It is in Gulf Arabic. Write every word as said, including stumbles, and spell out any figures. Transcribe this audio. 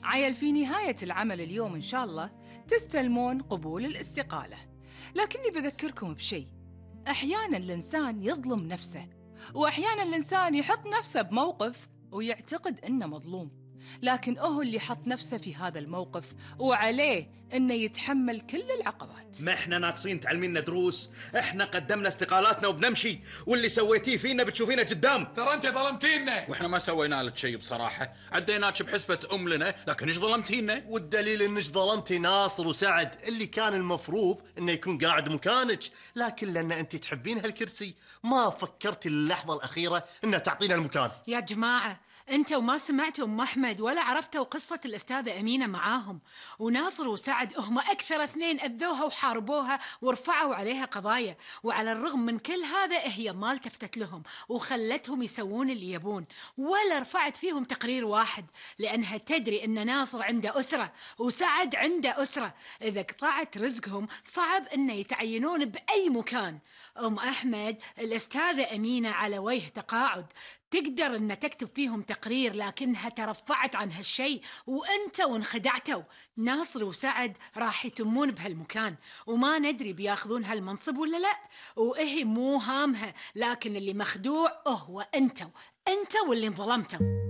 عيل في نهاية العمل اليوم إن شاء الله تستلمون قبول الاستقالة، لكني بذكركم بشيء. أحياناً الإنسان يظلم نفسه، وأحياناً الإنسان يحط نفسه بموقف ويعتقد إنه مظلوم، لكن هو اللي حط نفسه في هذا الموقف وعليه إنه يتحمل كل العقبات. ما إحنا ناقصين تعلمينا دروس؟ إحنا قدمنا استقالاتنا وبنمشي، واللي سويتيه فينا بتشوفينا قدام. ترى أنت ظلمتينا. وإحنا ما سوينا لك شيء بصراحة، عديناك بحسبة أم لنا، لكن إيش ظلمتينا؟ والدليل إنك ظلمتي ناصر وسعد اللي كان المفروض إنه يكون قاعد مكانك، لكن لأن أنت تحبين هالكرسي ما فكرتي اللحظة الأخيرة إنه تعطينا المكان. يا جماعة أنتوا ما سمعتوا أم أحمد ولا عرفتوا قصة الأستاذة أمينة معاهم، وناصر وسعد هم أكثر اثنين أذوها وحاربوها ورفعوا عليها قضايا، وعلى الرغم من كل هذا هي ما التفتت لهم وخلتهم يسوون اللي يبون، ولا رفعت فيهم تقرير واحد، لأنها تدري أن ناصر عنده أسرة وسعد عنده أسرة، إذا قطعت رزقهم صعب أن يتعينون بأي مكان. أم أحمد الأستاذة أمينة على وجه تقاعد، تقدر أن تكتب فيهم تقرير، لكنها ترفعت عن هالشيء وأنتوا وانخدعتوا. ناصر وسعد راح يتمون بهالمكان وما ندري بياخذون هالمنصب ولا لا، وإهي مو هامها، لكن اللي مخدوع هو أنتوا أنتوا واللي انظلمتوا.